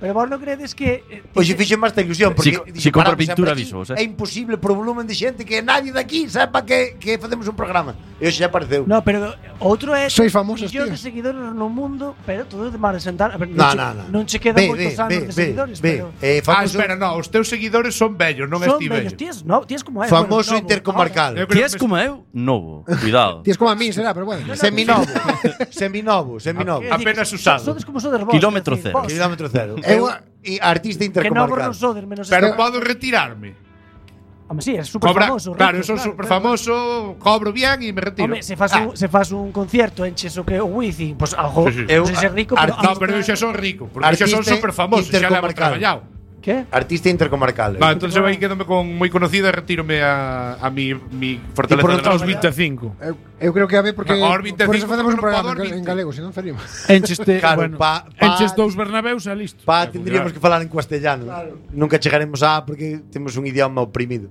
Pero vos non credes que Hoxe fixo máis da ilusión porque Si compra paramos pintura, sempre aquí, avisos, É imposible por o volumen de xente que nadie daqui sepa que facemos un programa. E hoxe xa apareceu. No, pero outro é Sois famosos, millóns tío. de seguidores no mundo, pero todo de mar sentar. A ver, No, che- no. non che quedan moitos anos de seguidores, pero Espera, no, os teus seguidores son bellos, non son esti bellos, bello. tías como é. Famoso bueno, novo, intercomarcal. Eu creo Ties que como eu, novo. Cuidado. Tienes como a mí, será, pero bueno. Seminovo. Seminovo. Apenas usado. Sodes como sodes vos. Kilómetro quer decir, cero. vos, Kilómetro cero. Eu E artista Que novos intercomarcal. non sodes, menos Pero este- podo retirarme. Home, sí, é super Cobra, famoso. claro, rico, eu son super famoso, cobro bien e me retiro. Home, se fas un concierto enches o que o Wizzing, pues algo, Sí, sí. non sei se é rico, pero No, pero eu xa son rico, porque xa son Artista super famoso, xa levo intercomarcal. traballado. que? Artista intercomarcal. No, entonces eu aí quedome con moi conocido e retírome a mi fortaleza por de outros los 25. Eu creo que a ver porque Ahora 25 por eso facemos un non programa podo en galego, se non faríamos. Encheste, Claro, bueno, pa- enches 2 Bernabéus e listo. Tendríamos que falar en castellano. Nunca chegaremos a porque temos un idioma oprimido.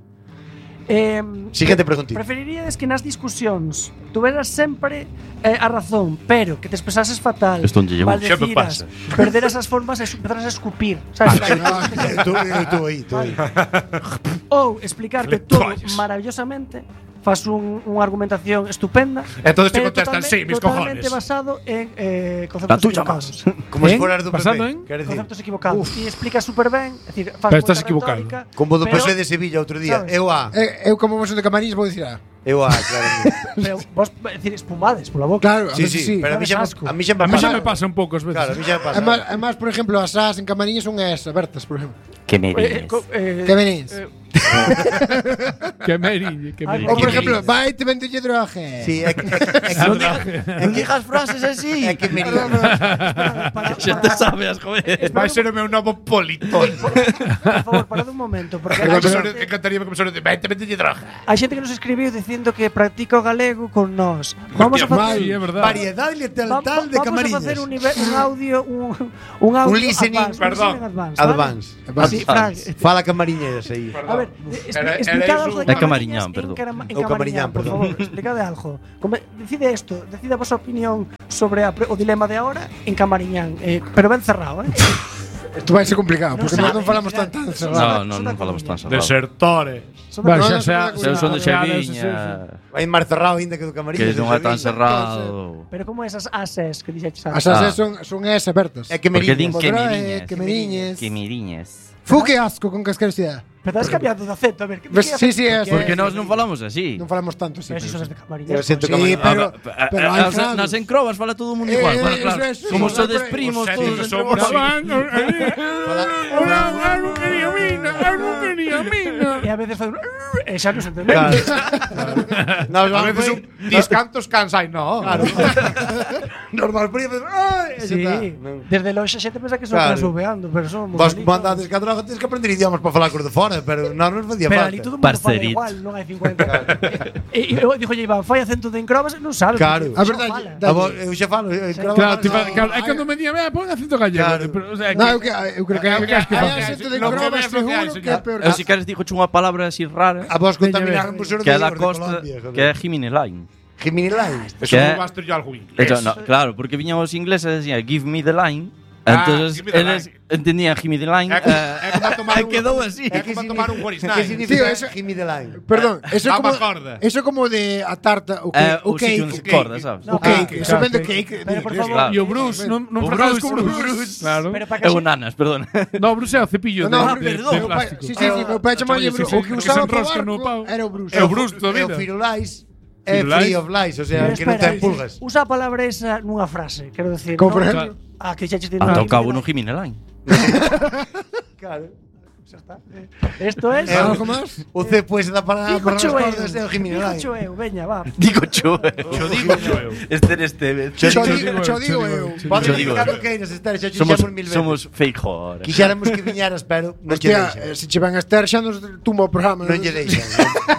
Siguiente preguntita. Preferiríades que nas discusións tuveras sempre a razón, pero que te expresases fatal, Esto non lle llevo. Sempre maldeciras, pasa. perderas as formas e empezaras a escupir, sabes? Tú aí. Ou explicarte Fletallas. todo maravillosamente, fas unha argumentación estupenda. Entonces te contestan, sí, mis cojones. Totalmente basado en conceptos equivocados. Como se fuera do Basado PP. en Conceptos equivocados. E explica super ben, é dicir, faz Pero estás moita equivocado. retórica, Como do pero- PSOE de Sevilla outro día. sabes? Eu como vos de Camarís vou dicir claro. Pero vos, é dicir, espumades pola boca. Claro, Sí, pero a mí xa Asco. me A mí xa pasa. me pasa un pouco ás veces. Claro, a mí xa me pasa. Además, por ejemplo, as as en Camariñas son as abertas, por ejemplo. Que me dices. Que venís? Que meriñe, que Ay, meriñe. Ou, por ejemplo, vai te vende droga. Sí, Non digas frases así. É que me Xa te sabes, joder. Vai ser o meu novo politón. Por favor, parad un momento, porque Encantaría que me sonore de 20 de droga. hai xente que nos escribiu dicindo que practica o galego con nós. Vamos a facer Sí, é verdad. Variedade letal de Vamos a Camariñas. facer un audio un audio Un listening, advance, perdón. un listening Advance. Sí, Frank. Fala Camariñas aí. A ver, Era explicad eso. algo de É Camariñán, perdón. En Ou Camariñán, Camariñán, por perdón. favor, explicade algo. Decide isto, decide a vosa opinión sobre o dilema de ahora en Camariñán, pero ben cerrado, Isto vai ser complicado, porque nós sabe, non falamos claro. tan Son cerrado. Non falamos tan cerrado. Desertores. Vale, No, xa no, Eu son de Claro, Xaviña, Vai máis cerrado ainda que do Camariñas. que non é tan cerrado. Pero como esas ases que dixeches As antes? as son as abertas. É que Porque din que Podrá, miriñas. que meriñes. Que miriñas. Fu que asco con que asquerosidade. Pero estás cambiando de acento, a ver. Sí, sí, é. Porque nós non falamos así. Non falamos tanto, sí. Pero si sos de Eu Camariñán. siento Sí, Camariñas. pero hai frases. Nas encrobas fala todo o mundo igual. Claro, claro. eso, Como eso, sodes eso, primos eso, todos eso, entre vos. Algo quería mina, algo quería mina. E a veces fai un e xa non se entende. Nos A vamos veces un discantos cansai, no. Claro. Normal, pero Sí, desde longe a xente pensa que son Claro. transbubeando, pero son moi Vos bonitos. mandades que a droga tens que aprender idiomas para falar cos de fora, pero non nos facía Pero falta. ali todo o mundo fala Parcerito. igual, non hai 50. E eu dixo Iván, fai acento de encrobas, non sabe. Claro. porque A xa verdade, fala. A vos, eu xa falo, Claro, tipo, claro, é cando me día, pon acento gallego. Claro. Pero, o sea, No, eu creo que hai acento de Lo que grobas ves, lo que hai, seguro que é señor. peor. Eu si queres dixo unha palabra así rara A vos contaminaron por ser que é da costa, que é Jiminy Line. Jiminy Line. Eso Que- non vas ter yo algo inglés. Eso, no, claro, porque viñan os ingleses e decían give me the line. Ah, Entonces give me the eles entendían Jimmy the line. É como tomar un- Quedou así. É como tomar un Boris Que Nine. significa Tío, eso- Jimmy the Line? Perdón, eso é Dama como corda. eso é como de a tarta, o O sitio cake. onde corda, sabes? No, O cake, claro, eso claro, vende cake. cake. Pero por Dios. favor, E o Bruce, non O fracades Bruce, con Bruce. Claro. Pero para que É a o xente- nanas, perdón. No, Bruce é o cepillo No, de perdón, de meu pai- plástico. Sí, sí, meu pai chamaba Sí, Bruce. sí, O que que usaba se para enrosca no pau. era o Bruce. É o Bruce toda a É o vida. Firulais. É Firulais. Free of Lies, o sea, Pero que non espera, ten pulgas. Usa a palabra esa nunha frase, quero decir. Como por non? ejemplo? Que xa che Ata o cabo no Jimmy the line. Claro. Xa está. Esto es Algo máis? O C pues da para Digo as cho cordas é o Jimmy Digo Line. cho eu, veña, va. Digo cho. Yo digo yo. Este. Cho digo eu. Pode Yo digo, digo que queiras estar, xa Somos xamos mil veces. somos fake horror. Quixéramos que viñeras, pero non lle Hostia, deixan. se che van a estar xa nos tumba o programa. Non lle deixan.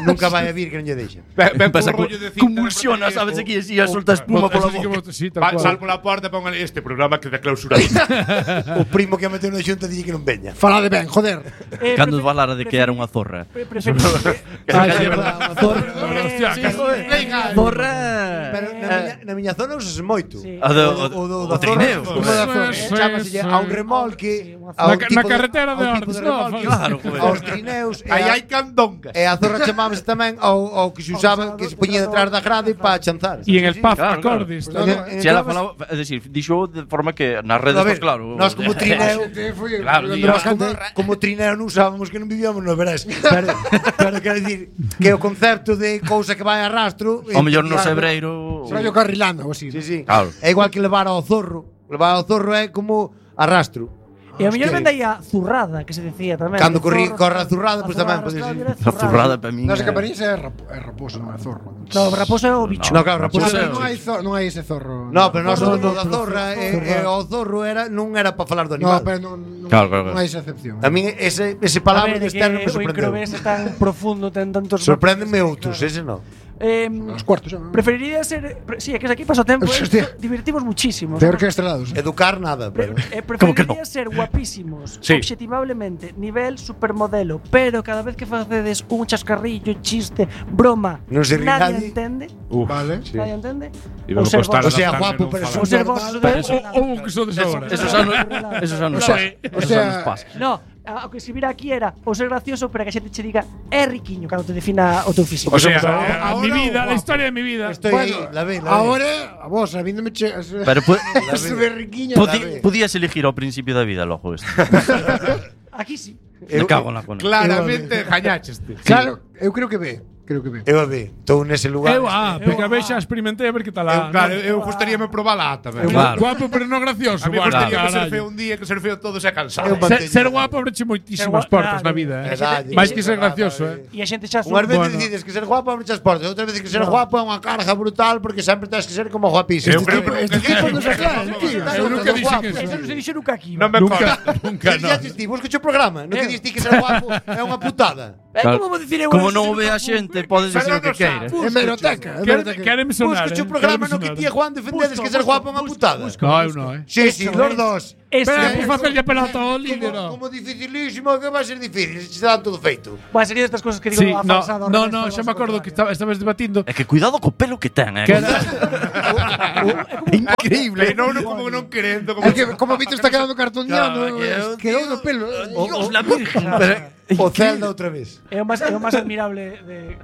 Nunca vai a vir que non lle deixan. Ven Pasa por rollo de cinta convulsiona, de sabes aquí así, a solta espuma pola boca. Sí, tal Va, cual. sal pola porta e pon ali este programa que de clausura. O primo que a meteu na xunta dille que non veña. Falade ben, joder. Cando falara de que era unha zorra. Ah, é verdade. Hostia, Sí, que- joder. Zorra. Pero na miña zona usase moito. Sí. O trineo. Como da zona. Sí, Chámase sí. a un remolque. Na a un na tipo de- carretera de a un tipo Ordes, remolque, no, claro, joder. aos trineus. Aí hai candongas. E a zorra chamábase tamén ao que se usaba, que se poñía detrás da grade para chanzar. E en el pub claro, claro. acordes. Pues tamén. En- Si ela falaba, é dicir, dixo de forma que nas redes, A ver, pues claro. nós como trineo, Claro, nós como trineo non usábamos que non vivíamos no verás. Pero quero dicir que o concepto de cousa que vai a rastro. O mellor no sebreiro. Rollo carrilando ou así. Sí, sí. Claro. É igual que levar ao zorro. Levar ao zorro é como arrastro. E a mellor Hostia. vende aí a zurrada, que se decía tamén. Cando Zorro, corre a zurrada, pues tamén zurrada, pode ser. era A zurrada para min. Nós en Camariñas é raposo, non é zorro. No, raposo é o bicho. No, claro, raposo Raposo é- é- Non hai ese zorro. No, pero nós No, o no, da pero zorra e o zorro era non era para falar do No, animal. pero non Claro, claro, non hai esa excepción. A min ese A palabra ver, de que externo me o sorprendeu. incrobés é tan profundo, ten tantos Sorpréndeme outros, ese non. Os cuartos, xa. Preferiría ser. Sí, é que aquí paso tempo. Hostia. Divertimos muchísimo. Peor que estrelados. Educar nada, pero Preferiría ser guapísimos, Sí. objetivablemente, nivel supermodelo, pero cada vez que facedes un chascarrillo, chiste, broma, Non se ri nadie. nadie entende. Vale. Nadie entende. Iba a Ou ser costar vos- o sea, adaptarme, guapo, non pero falar. ou ser vos normal. de- Ou que sodes agora. Eso xa non pasa. O sea, pasa. No, o que escribira aquí era o ser gracioso para que a xente che diga é riquiño cando te defina o teu físico. O sea, mi vida, la historia de mi vida. La ve. Ahora, a vos, a mí no me che. Pero Sube riquiño. podías elegir ao principio da vida logo isto. Aquí sí. Me cago na cona. Claramente jañacheste. Claro, eu creo que ve. Eu a ve, estou nese lugar. Porque a vexa experimentei a ver que tal. Claro, eu gustaríame probala tamén. Claro. Guapo, pero non gracioso. A mí gustaría ser feo un día, que ser feo todo se cansado. Ser guapo abreche moitísimas portas na vida. Mais que ser gracioso. E a xente xa Unhas veces decides que ser guapo abre as portas, outras veces que ser guapo é unha carga brutal porque sempre tens que ser como guapísimo. Este tipo non se aclara, tío. Eu nunca dixen eso. Eso non se dixo nunca aquí. Non me consta. Nunca, Que dixes ti, busca o programa, non que dixes ti que ser guapo é unha putada. Como vou dicir eu? Como non o ve a xente, podes dicir o que queira. É meroteca. Quéreme sonar. Busca o programa no que ti e Juan defendedes que ser guapo é unha putada. No, eu non, Sí, los dos. Pero por facerlle pelota ao líder. Como dificilísimo, que vai ser difícil, se dan todo feito. Vai sería estas cosas que digo Sí, a falsado. no, xa me acordo que estabas debatindo. É que cuidado co pelo que ten, Que era Increíble. Non como non querendo. É que como Víctor está quedando cartoneando, quedou no pelo. Dios la virgen. O Zelda outra vez. É o máis admirable de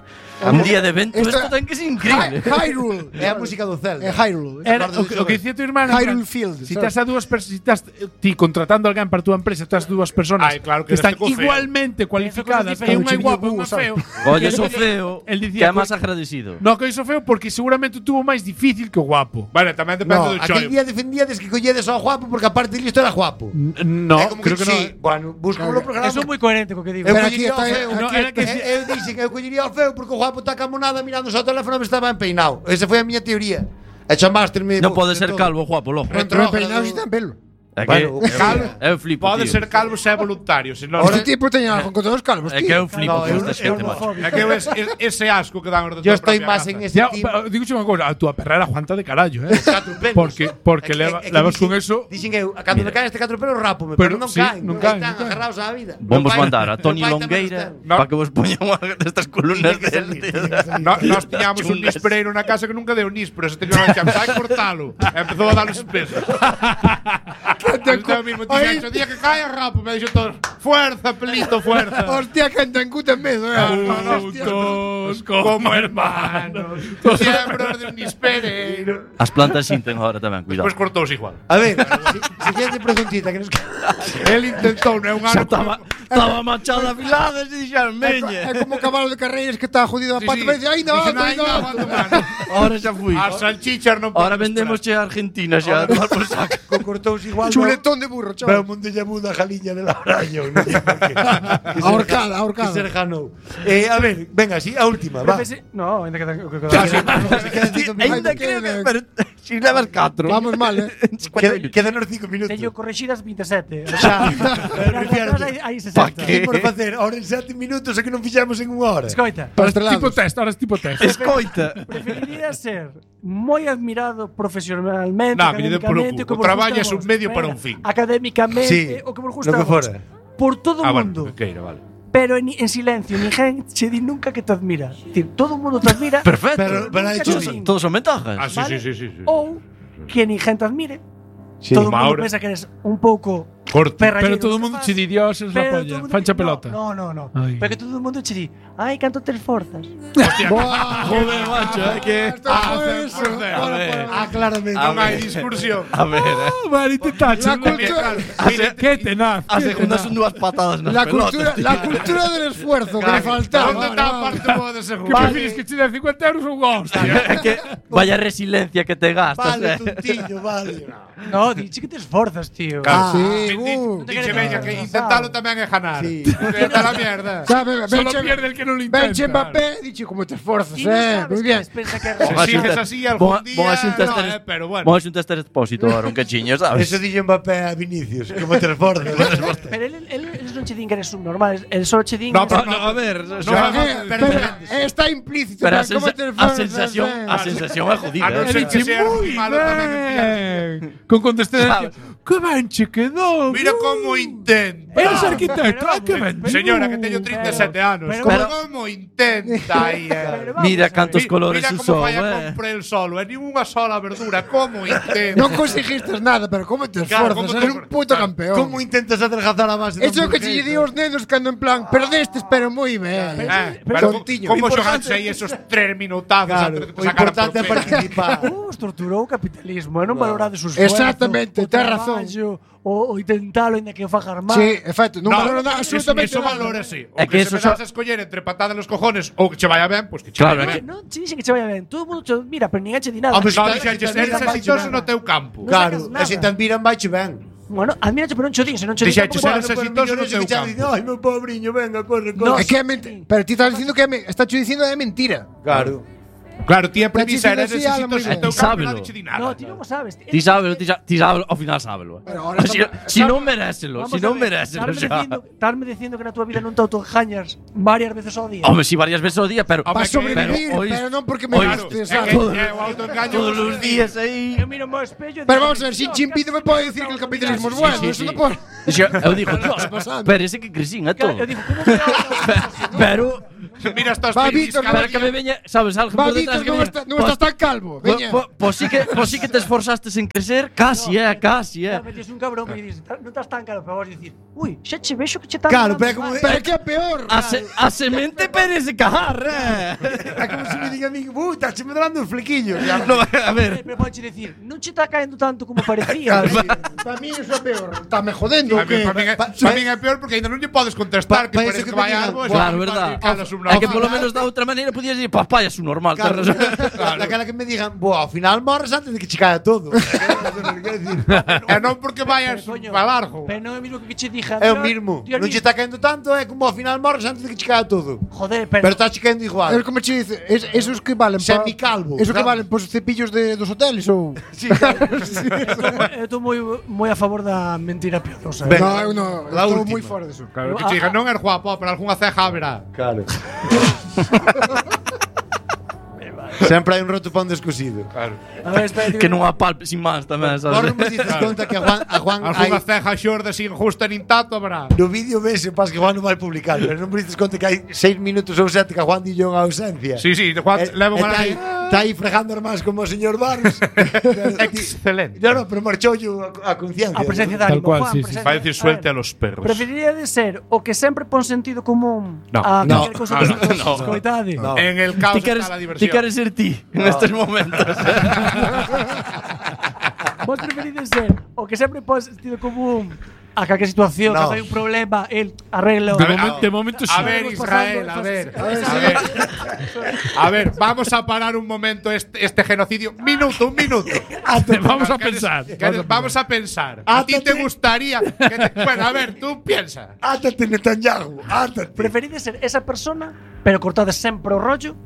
Un día de evento isto ten que ser increíble. Hyrule. É a música do Zelda. É Hyrule. Era o que dicía tu irmán. Hyrule Field. Si estás a dúas persoas, ti contratando a alguén para a túa empresa, estás dúas persoas claro que están este co feo. igualmente cualificadas, que unha é guapo e unha feo. Oye, so feo, El que dicía é máis agradecido. No, que iso feo porque seguramente tuvo máis difícil que o guapo. Vale, tamén depende do Aquel chollo. día defendíades que colledes ao guapo porque aparte de listo era guapo. No, É como creo que sí, non. bueno, busco o programa. Eso é moi coherente co que digo. Eu Pero aquí collería ao está- feo. No, era que Eu dixen que eu collería ao feo porque o guapo está camonada mirando o teléfono e estaba empeinado. Esa foi a miña teoría. E chamaste-me. Non pode ser calvo, guapo, logo. Pero peinado si ten pelo. É que Bueno, eu flipo, Pode tío. ser calvo se é voluntario, senón Este tipo teña algo contra os calvos, É que tío. eu flipo con esta xente, macho. É que ese asco que dan os de Yo tua estoy propia máis casa. en ese Ya, team. digo unha cousa, a túa perra era Juanta de carallo, Catro pelos. Porque levas con eso. Dixen eu, cando me caen este catro pelos rápome, pero non sí, caen. non Aí caen, están non caen. agarrados á vida. Vamos Meu pai- mandar a Toni meu pai tamén Longueira está. No. para que vos poña unha destas columnas Tiene que del salir, tío. Nós tiñamos un Chungas. nispereiro na casa que nunca deu nis, pero ese teño que vai cortalo. E empezou a dar os pesos. Entón mismo Aí- tiña o día que cae rapo, me dixo todo, fuerza, pelito, fuerza. Hostia, que en Tancú ten medo, Hostia. Juntos Como hermanos, miembros de un nispereiro. As plantas sinten agora tamén, cuidado. Despois cortouse igual. A ver, siguiente preguntita que nos El intentou, non é un ano. Estaba machada afilada e dixeron, É como o cabalo de carreiras que está jodido a Sí, pata sí. e dice, "Ai, no, Dixen, no, "Ai, no, no". aguanta, mano". Ahora xa fui. As salchichas non Ahora poden vendemos esperar. a Argentina xa, a tomar por saco. cortouse igual. Chuletón de burro, Pero chaval. o mundo lle muda a jaliña del araño. Non sei por qué. Ahorcada, Que ahorcada. ser janou. A ver, venga, sí, a última, va. No, ainda quedan Ainda creo que… Pero si levas 4. Vamos mal, Quedan 5 minutos. Teño correxidas 27. Xa, Hai 60. Pa que? por facer ahora en 7 minutos é que non fixamos en unha hora. Escoita, Tipo test, ahora es tipo test. Escoita. preferiría ser moi admirado profesionalmente, No, que lle dé polo académicamente, cu. que O vos traballo gusta é a un vos. medio para Venga, un fin. Académicamente, Sí, o que vos gusta lo que a vos. fora. Por todo o Ah, mundo. bueno, que queira, vale. Pero en silencio, ninguén che di nunca que te admira. Es decir, todo o mundo te admira. Perfecto. Pero hai Nunca hecho che din. Todos son ventajas. Ah, sí, Vale. sí. Ou que ninguén te admire. Sí. Todo o mundo Mauro. pensa que eres un pouco Corto. Pero perralleiro. todo o mundo che di Dios es la Pero todo polla. o mundo Fancha che- pelota. No. Ay. Pero que todo o mundo che di, ai, canto te esforzas. Joder, macho, que… claramente. Non hai discursión. A ver, Vale, te tacho. La cultura, Qué tenaz. a segunda son dúas patadas nas la pelotas. cultura del esfuerzo que le faltaba. Onde está a parte boa de Que seguro? prefires que che den 50 euros ou un hostia? É que vaya resiliencia que te gastas, Vale, tontillo, vale. No, diche que te esforzas, tío. Ah, sí, Dice, veña, que intentalo tamén é ganar. Sí. Vete a la mierda. Sabe, Solo pierde el que no lo Benche intenta. Mbappé, dice como te esforzas, Ti non sabes muy que bien. despensa que Si Vamos a sigues xuntar- así algún día, vamos a xuntar no, este- pero bueno. Vamos a xuntar este expósito ahora, un cachiño, sabes? Eso dixo Mbappé a Vinicius, como te esforzas. Pero eles non che din que eres subnormal, el solo che din No, que pero eres- No, a ver, o No, sea, Pero está implícito. pero a, ¿cómo te a esforzas? sensación é jodida. A non ser que sea Muy malo tamén. bien. Con condescendencia. Que ben che quedou. Mira como intenta. Eres arquitecto, que ben. Señora, que teño 37 anos. Como intenta aí. Mira cantos colores usou. Mira como vai a comprar el solo. E ninguna sola verdura. Como intenta. Non conseguiste nada, pero como te esforzas. Eres un puto campeón. Como intentas adelgazar a base de Eso que che digo aos nenos cando en plan perdestes, pero moi ben. Pero como xogaste aí esos 3 minutados antes de que te sacaran por importante é participar. Os torturou o capitalismo, non valorades os esfuerzos. Exactamente, ten razón. O intentalo ainda que o fagas mal. Sí, efecto, non valora absolutamente eso nada. valora, sí. É O que que eso se me das a escoller entre patada nos cojones ou que che vaya ben, pois que che vaya ben. Non che dixe que che vaya ben. Todo mundo che mira, pero ninguén che di nada. Hombre, eres exitoso no teu campo. Claro, e se te admiran, vai che ben. Bueno, admirache, pero non che dixen, non che Dixeche, eres exitoso no teu campo. Ai, meu pobriño, venga, corre, No, É que é pero ti estás dicindo que está che dicindo é mentira. Claro. Claro, ti a premisa eres Pero exitoso sí, no teu campo, sábelo. nadie che di nada. No, ti non o sabes. Ti sábelo, ao final sábelo. Si non merécelo, Vamos si a non ver, merécelo estarme dicindo que na túa vida non te autoengañas varias veces ao día. Home, si varias veces ao día, pero Para sobrevivir, pero non porque me gastes, sabes? Todos os días aí. Eu miro ao espello. Pero vamos a ver, Xi Jinping me pode decir que el capitalismo es bueno. Eso non pode. Eu digo, Dios, parece que crecín a todo. Eu digo, como me Pero Mira estas Va, Víctor, para que me veña, sabes, algo Va, por detrás Víctor, non estás tan calvo. Veña. Pues sí que te esforzastes en crecer, casi, casi. Metes un cabrón que dices, non estás tan caro, pero vos dicir, ui, xa che vexo que che tan Claro, pero é como Pero que é peor. A semente parece cajar, É como se me diga a mí, estás me dando os flequillos. No, a ver. Pero pode decir, non che está caendo tanto como parecía. Para mí eso é peor. Está me jodendo. Para mí é peor porque ainda non lle podes contestar que parece que vai algo. Claro, verdad. É que polo menos da outra maneira podías decir, papá, é un normal. Claro, daquela que me digan, ao final morres antes de que che caia todo. E non porque vayas para largo. Pero non é o mismo que che dijan. É o mismo. Non che está caendo tanto, é como ao final morres antes de que che caia todo. Joder, pero está che caendo igual. Es como che dice, esos que valen semicalvo. Esos que valen os cepillos dos hoteles ou Sí, claro. Eu estou moi a favor da mentira piadosa. No, estou moi fora deso. Claro, que che digan, non er guapo, pero algunha ceja haberá. Claro. Sempre hai un roto pão descosido. Claro. Que non apalpe sin máis tamén, Vos sabes? non me dices conta que a Juan Algunha ceja xorda sin justa nin tato haberá. no vídeo vese, pas que Juan non vai publicar, pero non me dices conta que hai 6 minutos ou 7 que a Juan dillo unha ausencia. Sí, Juan leva unha aí. Está aí fregando máis como o señor Barnes. Excelente. No, pero marchou a conciencia. A presencia de Tal ánimo. cual, Juan, sí, sí. presencia. Vai decir suelte a los perros. Preferiría de ser o que sempre pon sentido común No. a No. calquer cousa que escoitade. No. En el caos Ti está la diversión. queres ser ti en estes momentos. Vos preferides ser o que sempre pon sentido común a calquer situación, No. cando hai un problema, el arreglo. De momento sí. A ver, Israel, a ver, vamos a parar un momento este genocidio. Un minuto. Vamos a pensar. Vamos a pensar. ¿A ti te gustaría? Bueno, a ver, tú piensa. Átate, Netanyahu, átate. Preferides ser esa persona, pero cortades sempre o rollo?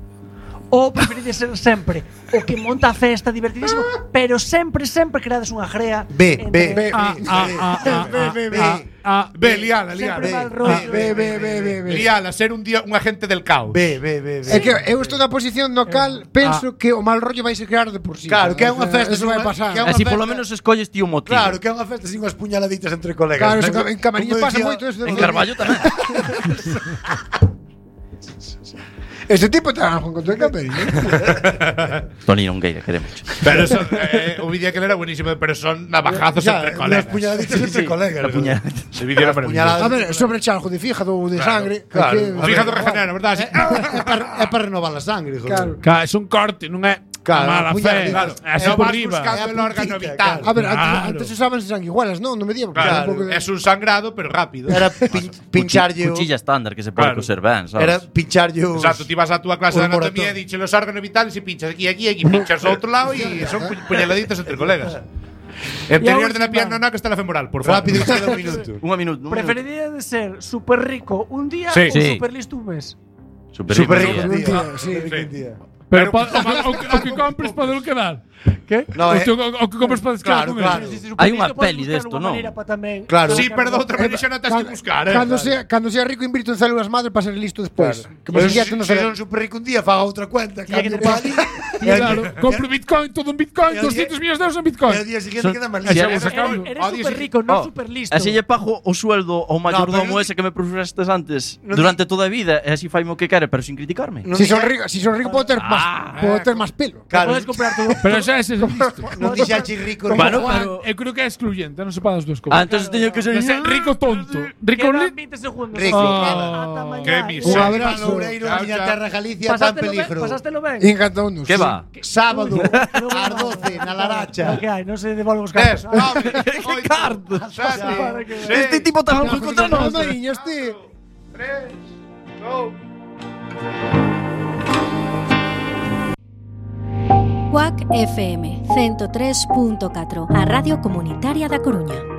Ou preferides ser sempre o que monta a festa divertidísimo, pero sempre creades unha grea? B. Liala. Sempre mal rollo. Liala, ser un agente del caos. B. É que eu estou na posición no cal penso que o mal rollo vai se crear de por sí. Claro, que é unha festa. Eso vai pasar. Así polo menos escolles ti o motivo. Claro, que é unha festa sin unhas puñaladitas entre colegas. Claro, eso en Camariñas pasa moito eso. En Carballo tamén. Este tipo te algo con tu Camariñas. Toni Nongueira, queremos. Pero son, o vídeo que era buenísimo, pero son navajazos entre colegas. Unhas puñaladitas entre colegas. La puña. Ese vídeo era maravilloso. A ver, sobre chalgo de fígado ou de sangre. claro. Fíjate regenera, verdad? É para renovar a sangre, joder. Claro. É un corte, non é Claro, mala fe. claro. Así No por vas riba. buscando el órgano puntita, vital. A ver, Claro. antes usaban sanguigualas, non? Non me digan. Claro, es un sangrado, pero rápido. Era pincharlle Cuchilla estándar que se pode Claro. coser ben, sabes? Era pincharlle os... Exacto, tú vas a tu clase de un anatomía moratón. y dices los órganos vitales y pinchas aquí, pinchas a otro lado y son puñaladitas entre colegas. Interior de la pierna, no, que está la femoral, por favor. Rápido, queda un minuto. Un minuto. Preferiría de ser super rico un día Sí. ou Sí. super listo un mes? Super Super rico. rico, un tío. día, sí. Rico, tío. Pero o que compres podelo quedar. Que? No, O que compras para descargar con claro. Hai unha peli desto, non? Claro. Sí, pero de outra maneira non tens que buscar, Cando sea rico invirto en células madre para ser listo despois. Que Pero me se no son super rico un día, faga outra cuenta, cambio para ali. Claro, compro Bitcoin, todo en Bitcoin, 200 millones de euros en Bitcoin. E o día seguinte queda máis Eres super rico, non super listo. E se lle pago o sueldo ao mayordomo ese que me profesastes antes durante toda a vida, e así faimo o que quere, pero sin criticarme. Si son rico puedo ter máis pelo. Podes comprar todo. Pero xa ese listo. Non dixache rico. Bueno, pero eu creo que é excluyente, non se pagan as dúas cousas. Entonces teño que ser rico tonto. Rico Quedan 20 segundos. Rico. Que Un miseria. abrazo, Loureiro, a miña terra Galicia tan peligro. Pasástelo ben. Encantounos. Que va? Sábado, ás 12, na Laracha. Que hai? Non se devolve os cartos. Cartos. Este tipo tan loco contra nós. Mariña, este. 3, 2. Cuac FM 103.4, a Radio Comunitaria da Coruña.